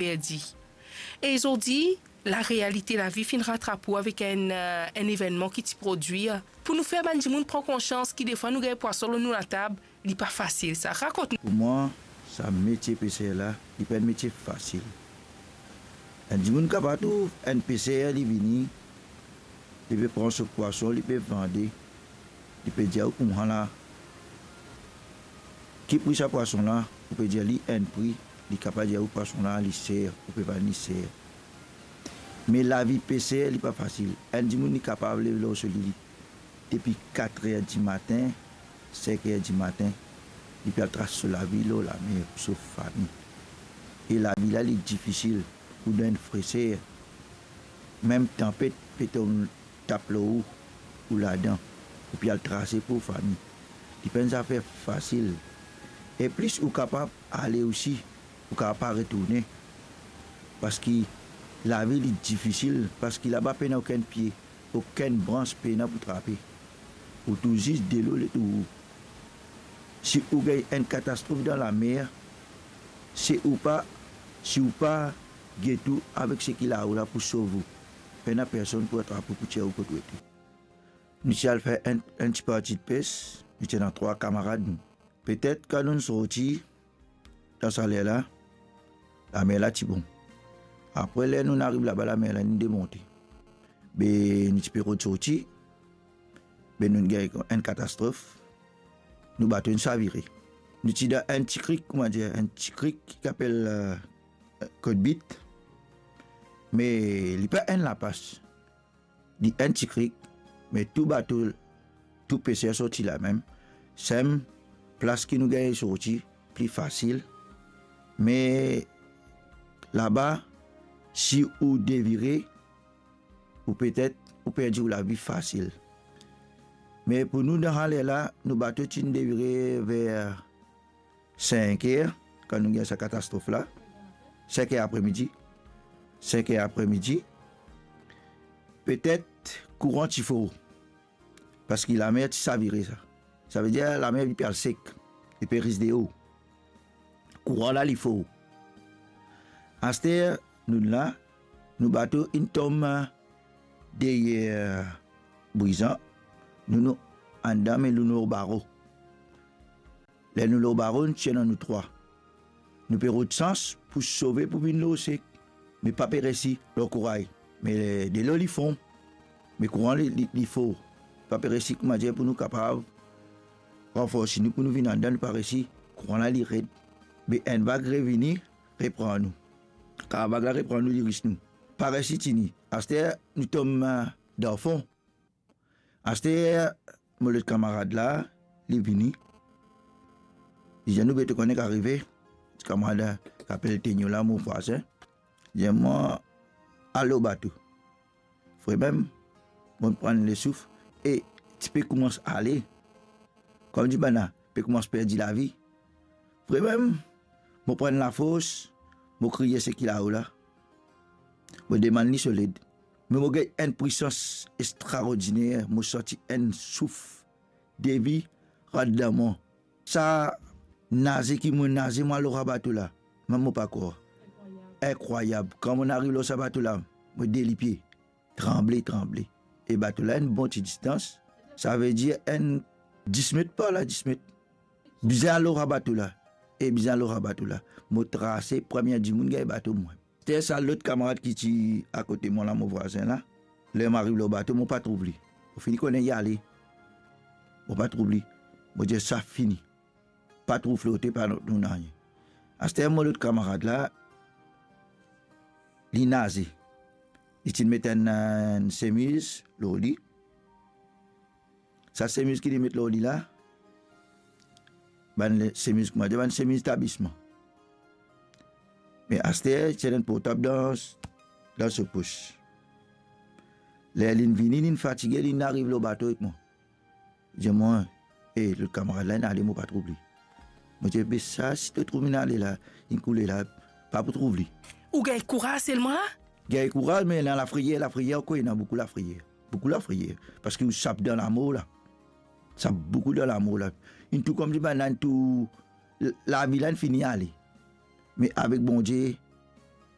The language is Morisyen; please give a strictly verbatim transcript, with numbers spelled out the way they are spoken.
perdi. E zordi, larealite lavi finn ratrap ou avek enn, eh, enn evennman ki ti prodwir. Pou nou fer bann dimoun pran konsians ki defwa nou gagn pwason lor nou latab, li pa fasil sa. Rakont nou. Pou mwa, sa metie peser la, li pa enn metie fasil. Enn dimoun kapav trouv enn peser, li vini, li pe pran so pwason, li pe vande, li pe dir ou kouma la, ki pri sa pwason la, ou pe dir li enn pri, li kapav dir ou pwason la li ser, ou pe vann li ser. Me lavi peser, li pa fasil. Enn dimoun, li kapav lev lor so lili depi kat er dimatin, sink er dimatin, li pe al tras so lavi lor lamer pou sov fami. E lavi la, li difisil, ou dan enn freser, mem tanpet pe tom, tap lor ou, ou ladan, ou pe al trase pou fami. Li pa enn zafer fasil. E plis ou kapav ale osi, ou kapav pa retourne, parski lavi li difisil, parski laba pena okenn pie, okenn brans pena pou trape. Ou tou zis delo letou ou. Si ou gagn enn katastrof dan lamer, si ou pa, si ou pa get ou avek seki lao la pou sov ou, pena personn pou atrap ou, pou tir ou kot ou ete. Nou ti al fer enn, enn ti parti de pes, nou ti ena trwa kamarad nou. Petet kan nou sorti dan sa ler la, lamer la ti bon. Apre, ler nou ariv laba, lamer la inn demonte. Be nou ti pe rod sorti, be nou gagn enn katastrof, nou bato inn savire. Nou ti dan enn ti krik, kouma dir, enn ti krik ki apel, eh, Kot Bit, me li pa enn lapas. Li enn ti krik, me tou bato, tou peser sorti lamem. Sem plas ki nou gagn sorti pli fasil, me laba, si ou devire, ou petet ou perdi ou lavi fasil. Me pou nou, dan sa ler la, nou bato ti inn devire ver sink er, kan nou gagn sa katastrof la, sink er apremidi, sink er apremidi, petet kouran ti for, parski lamer ti savire sa. Savedir lamer li pe al sek, li pe ris deor. Kouran la li for. Aster nou la, nou bato inn tom deryer Brizan, nou, nou andan, me nou lor baro. Ler nou lor baro, nou ti ena nou trwa. Nou pe rod sans pou sove, pou vinn lor sek, me pa pe resi lor kouray. Me delo li fon, me kouran li, li, li for. Pa pe resi, kouma dir, pou nou kapav ranforsi nou pou nou vinn andan, nou pa resi. Kouran la li red. Be enn vag revini, repran nou. Kan vag la repran nou, li ris nou. Pa resi tini. Aster nou tom, eh, dan fon. Aster mo lot kamarad la, li vini. Li dir nou, be to kone ki arive? Ti kamarad la ki apel Tenyo la, mo vwazin. Li dir mwa, al lor bato. Vremem, mo pran lesouf e ti pe koumans ale. Kouma dir bann la, pe koumans perdi lavi. Vremem, mo pran lafors, mo kriye seki lao la. Mo demann li so led. Me mo gagn enn pwisans extraordiner, mo santi enn souf devi rant dan mwa. Sa naze ki mo naze, mo al lor sa bato la, mem mo pa krwar. Inkrwayab. Kan mo ariv lor sa bato la, mo delipie, tranble, tranble. E bato la enn bon ti distans, savedir enn dis met par la, dis met. Bizin al lor sa bato la, e bizin al lor sa bato la. Mo trase, premie dimoun gagn bato mwa. Aster sa lot kamarad ki ti akote mwa la, mo vwazin la, ler mo ariv lor bato, mo pa trouv li. Mo fini kone li ale. Mo pa trouv li. Mo dir sa fini. Pa trouv flote, pa trouv nanye. Aster mo lot kamarad la, li naze. Li ti met enn, enn semiz lor li. Sa semiz ki li met lor li la, bann le-, semiz, kouma dir, bann semiz tablisman. Me aster, ti ena enn portab dan, dan so pos. Ler linn vini, linn fatige, linn ariv lor bato ek mwa. Li dir mwa, e, lot kamarad la inn ale, mo pa trouv li. Mo dir, be sa, si to trouv linn ale la, linn koule la, pa pou trouv li. Ou gagn kouraz selman la? Gagn kouraz, me ena lafreyer, lafreyer ankor, ena boukou lafreyer. Boukou lafreyer. Parski ou sap dan lamor la. Sap boukou dan lamor la. Inn tou koumsi bann la inn tou, lavi la inn fini ale. Me avek Bondie,